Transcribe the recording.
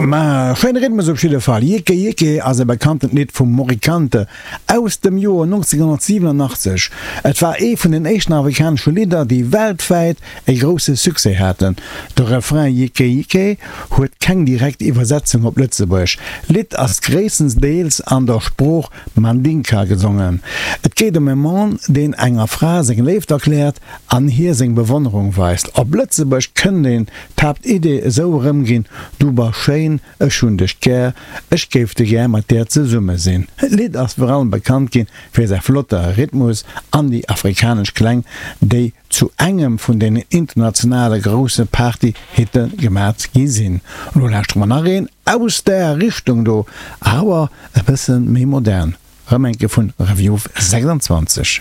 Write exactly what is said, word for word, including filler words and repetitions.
Ma schéine Rhythmus op jidde Fall. Yeke Yeke ass e bekanntent Lidd vum Mory Kanté aus dem Joer nonzénghonnertsiwenunachtzeg. Et war ee vun den éischten afrikanesche Lidder, déi weltwäit e grousse Succès haten. De Refrain Yeke Yeke huet keng direkt Iwwersetzung op Lëtzebuergesch. D'Lidd ass gréisstendeels an der Sprooch Mandinka gesongen. Et geet ëm e Mann, deen enger Fra seng Léift erkläert an hir seng Bewonnerung weist. Op Lëtzebuergesch kënnt een d'Haaptidee esou erëmginn, Du bass schéin, ech hunn dech gär, ech géif de gär mat där zesumme sinn. D'Lidd ass virun allem bekannt ginn fir säi flotte Rhythmus an déi afrikanesch Kläng, déi zu engem vun den internationale grousse Party-Hitte gemat gi sinn. Elo lauschtere mer nach een aus där Richtung do, awer e bësse méi modern, erëm eng Kéier vun Review sechsundzwanzeg.